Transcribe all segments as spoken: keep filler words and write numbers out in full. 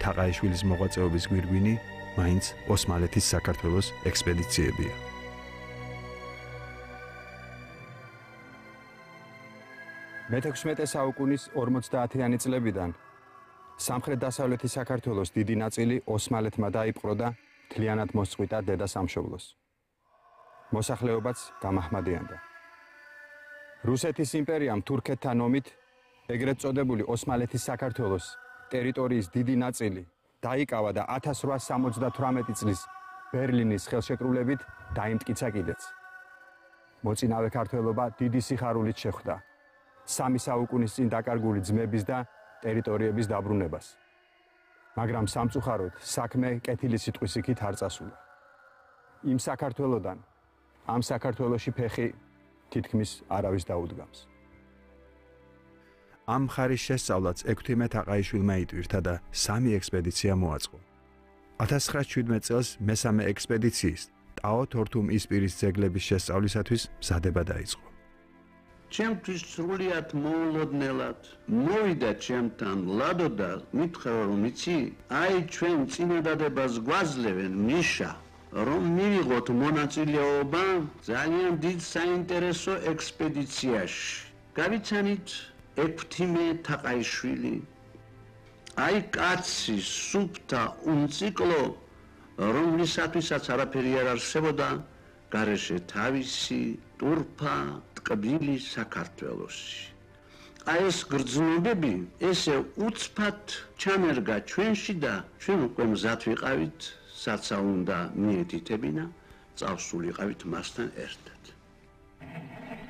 თაყაიშვილის მოღვაწეობის გვირგვინი მაინც ოსმალეთის საქართველოს ექსპედიციებია. მეთექვსმეტე საუკუნის ორმოცდაათიანი წლებიდან სამხრეთ-დასავლეთი საქართველოს დიდი ნაწილი ოსმალეთმა დაიპყრო და მთლიანად მოსწყვიტა დედა სამშობლოს. მოსახლეობაც გამაჰმადიანდა. რუსეთის იმპერიამ თურქეთთან ომით ეგრეთ წოდებული ოსმალეთის საქართველოს ტერიტორიის დიდი ნაწილი დაიკავა და ათას რვაას სამოცდათვრამეტი წლის ბერლინის ხელშეკრულებით დაიმტკიცა კიდეც. მოწინავე ქართველობა დიდი სიხარულით შეხვდა სამი საუკუნის წინ დაკარგული ძმების და ტერიტორიების დაბრუნებას. მაგრამ სამწუხაროდ საქმე კეთილი სიტყვის იქით არ წასულა. იმ საქართველოდან ამ საქართველოში ფეხი თითქმის არავის დაუდგამს. ამ მხარის შესწავლაც ექვთიმე თაყაიშვილმა იტვირთა და სამი ექსპედიცია მოაწყო. ათას ცხრაას შვიდმეტ წელს მესამე ექსპედიციის ტაო თორთუმ ისპირის ძეგლების შესწავლისათვის მზადება დაიწყო. ჩემთვის სრულიად მოულოდნელად მოვიდა ჩემთან ლადო და მითხრა რომ იცი, აი ჩვენ წინადადებას გვაძლევენ ნიშა, რომ მივიღოთ მონაწილეობა ძალიან დიდ საინტერესო ექსპედიციაში. გავიცანით ექვთიმე თაყაიშვილი, აი კაცი სუფთა უმციკლო, რომლისათვისაც არაფერი არ არსებოდა, გარეშე თავისი ტურფა ტკბილი საქართველოსი. აი ეს გრძნობები ესე უცბად ჩამერგა ჩვენში და ჩვენ უკვე მზად ვიყავით, საცა უნდა მიეთითებინა, წავსულიყავით მასთან ერთად.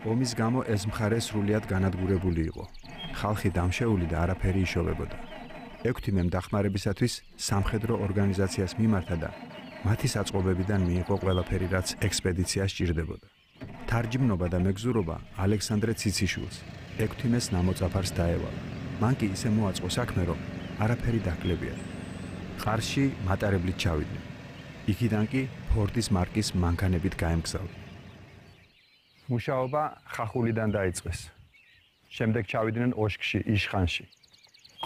ომის გამო ეს მხარე სრულიად განადგურებული იყო. ხალხი დამშეული და არაფერი იშოვებოდა. ექვთიმემ დახმარებისათვის სამხედრო ორგანიზაციას მიმართა და მათი საწყობებიდან მიიღო ყველაფერი, რაც ექსპედიციას სჭირდებოდა. თარჯიმნობა და მეგზურობა ალექსანდრე ციციშვილს, ექვთიმეს ნამოწაფარს დაევალა. მან კი ისე მოაწყო საქმე, რომ არაფერი დაკლებია. ყარში მატარებლით ჩავიდნენ. იქიდან კი ფორდის მარკის მანქანებით გაემგზავრა. მუშაობა ხახულიდან დაიწყეს. შემდეგ ჩავიდნენ ოშკში, იშხანში.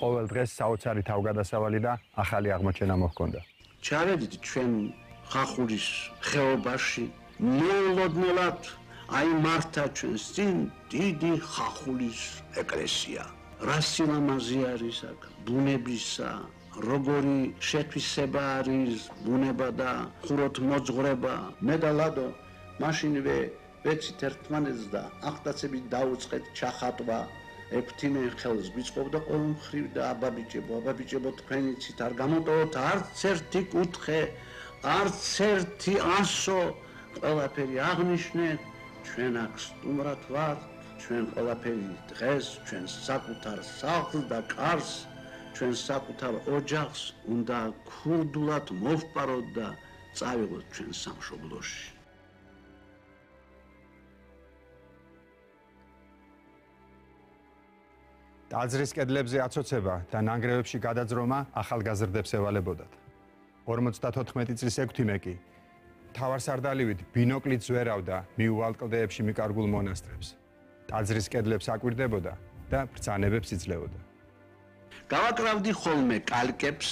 ყოველ დღეს საოცარი თავგადასავალი და ახალი აღმოჩენა მოჰქონდა. ჩავედით ჩვენ ხახულის ხეობაში, მოულოდნელად აი მართა ჩვენს წინ დიდი ხახულის ეკლესია. რა სილამაზე არის აქ, ბუნებისა, როგორი შეთვისება არის ბუნება და ხუროთ მოძღვრება. მე და ლადო მაშინვე ვეცით ერთმანეთს და ახტაცებით დაუწყეთ ჩახატვა. ექვთიმე ხელს გვიწყობდა ყოველ მხრივ და აბაბიჭებო, აბაბიჭებო თქვენ იცით არ გამოტოვოთ არც ერთი კუთხე, არც ერთი ასო, ყველაფერი აღნიშნეთ, ჩვენ აქ სტუმრად ვართ, ჩვენ ყველაფერი დღეს, ჩვენ საკუთარ სახლს და კარს, ჩვენ საკუთარ ოჯახს უნდა ქურდულად მოვპაროთ და წავიღოთ ჩვენ სამშობლოში. ტაძრის კედლებზე აცოცება და ნანგრევებში გადაძრომა ახალგაზრდებს ევალებოდათ. ორმოცდათოთხმეტი წლის ექვთიმე კი თავარსარდალივით ბინოკლით ზვერავდა მიუვალ კლდეებში მიკარგულ მონასტრებს. ტაძრის კედლებს აკვირდებოდა და ბრძანებებს იძლეოდა. გავაკრავდი ხოლმე კალკებს,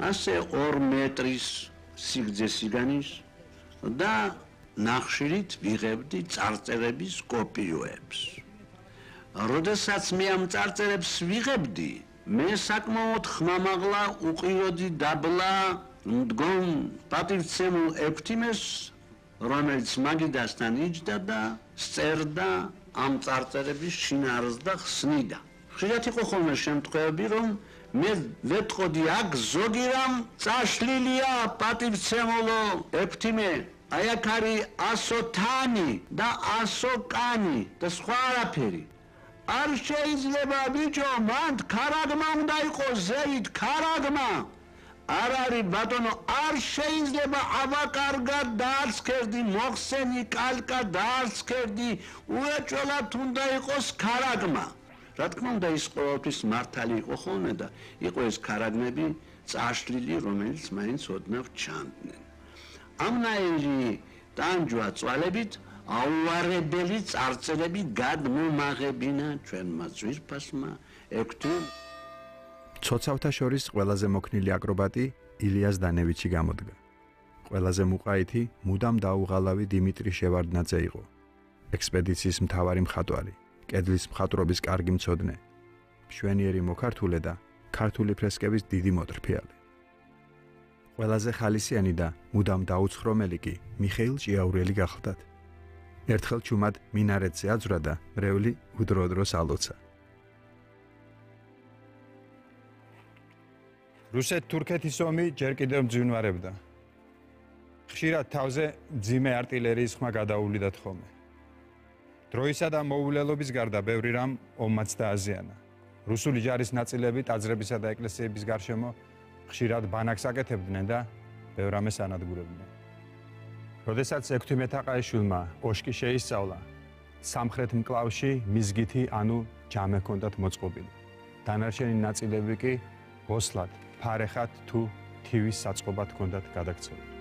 ასე ორ მეტრის სიგრძე სიგანის და ნახშირით ვიღებდი წარწერების კოპიოებს. როდესაც მე ამ წარწერებს ვიღებდი, მე საკმაოდ ხმამაღლა უყიროდი დაბლა მდგომ პატივცემულ ექვთიმეს, რომელიც მაგიდასთან იჯდა და სწერდა ამ წარწერების შინაარსს და ხსნიდა. ხშირად იყო ხოლმე შემთხვევები, რომ მე ვეტყოდი აქ ზოგი რამ წაშლილია პატივცემულო ექვთიმე, აი აქ არის ასო თანი და ასო კანი და სხვა არაფერი. არ შეიძლება ბიჭო, მან ქარაგმა უნდა იყოს ზევით, ქარაგმა. არ არის ბატონო, არ შეიძლება აბაკარგად დაარცქერდი, მოხსენი კალკა დაარცქერდი, უეჭველად უნდა იყოს ქარაგმა. რა თქმა უნდა ის ყოველთვის მართალი იყო ხოლმე და იყო ეს ქარაგმები წაშლილი, რომელიც მაინც ოდნავ ჩანდნენ. ამნაირი ტანჯვა წვალებით აუარებელი წარწერები გადმომაღებინა ჩვენმა ძვირფასმა ექვთიმ. ცოცავთა შორის ყველაზე მოქნილი აკრობატი ილიას დანევიჩი გამოდგა. ყველაზე მუყაითი მუდამ დაუღალავი დიმიტრი შევარდნაძე იყო. ექსპედიციის მთავარი მხატვარი, კედლის მხატვრობის კარგი მცოდნე, მშვენიერი მოქართულე და ქართული ფრესკების დიდი მოტრფიალი. ყველაზე ხალისიანი და მუდამ დაუცხრომელი კი მიხეილ ჭიაურელი გახლდათ. ერთხელ ჩუმად მინარეთზე აძვრა და მრევლი უდროდროს ალოცა. რუსეთ-თურქეთის ომი ჯერ კიდევ მძვინვარებდა. ხშირად თავზე მძიმე артиლერიის ხმა გადაუვლიდათ ხოლმე. დროისა და მოულელობის გარდა ბევრი რამ ომმაც დააზიანა. რუსული ჯარის ნაწილები ტაძრებისა და ეკლესიების გარშემო ხშირად ბანაკს აკეთებდნენ და ბევრ რამეს ანადგურებდნენ. როდესაც ექვთიმე თაყაიშვილმა ოშკი შეისწავლა, სამხრეთ მკლავში მიზგითი ანუ ჯამე ჰქონდათ მოწყობილი. დანარჩენი ნაწილები კი ოსლად, ფარეხად თუ თივის საწყობად ჰქონდათ გადაქცეული.